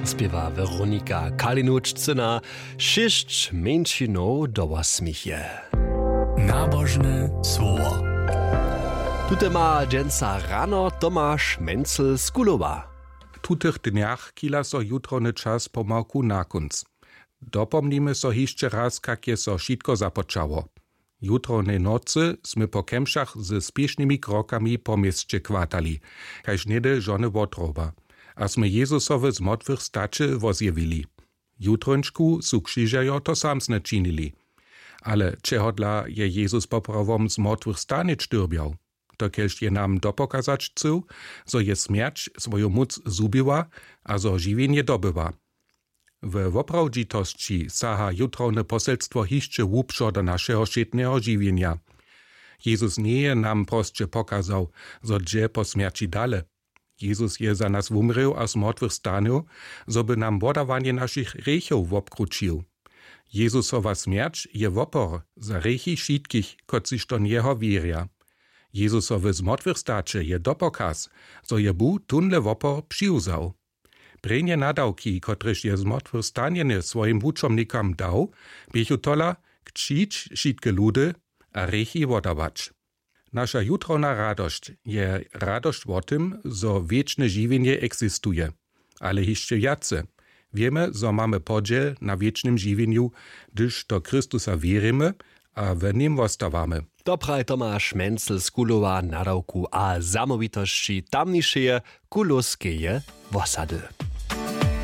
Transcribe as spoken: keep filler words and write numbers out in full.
Spěwa Weronika Kalinuć cyna, šěsć mjeńšinow do wosmich je. Nabožne słowo. Tute ma dźensa rano Tomaš Mencel z Kulowa. W tutych dnjach chila so jutrowny čas pomałku na kónc. Dopomnimy so hišće raz, kak je so wšitko započało. Jutrownej nocy smy po kemšach ze spěšnymi krokami po měsće kwatali, kaž něhdy žony wotroba, a smy Jezusowe zmortwych staće wozjewili. Jutrónčku su křižerjo to samsne činili. Ale čehodla je Jezus poprawom zmortwych stanić dyrbjał? Dokelž je nam dopokazać chcył, zo je smjerć swoju móc zhubiła a zo žiwjenje dobywa. We woprawdźitosći saha jutrowne poselstwo hišće hłubšo do našeho wšědneho žiwjenja. Jezus njeje nam prosće pokazał, zo dźe po smjerći dale. Jezus je za nas wumrěł a z mortwych stanył, zo by nam wodawanje našich hrěchow wobkrućił. Jezusowa smjerć je wopor za hrěchi wšitkich, kotřiž do njeho wěrja. Jezusowe zmortwychstaće je dopokaz, zo je Bóh tónle wopor přiwzał. Prěnje nadawki, kotrež je zmortwychstanjeny swojim wučomnikam dał, běchu tola: Křćić wšitke ludy a hrěchi wodawać. Naša jutrowna radosć je radosć wo tym, zo wěčne žiwjenje eksistuje. Ale hišće wjace. Wěmy, zo mamy podźěl na wěčnym žiwjenju, hdyž do Chrystusa wěrimy a w nim wostawamy. To praji Tomaš Mencel z Kulowa nadawku a zamołwitosći tamnišeje kulowskeje wosady.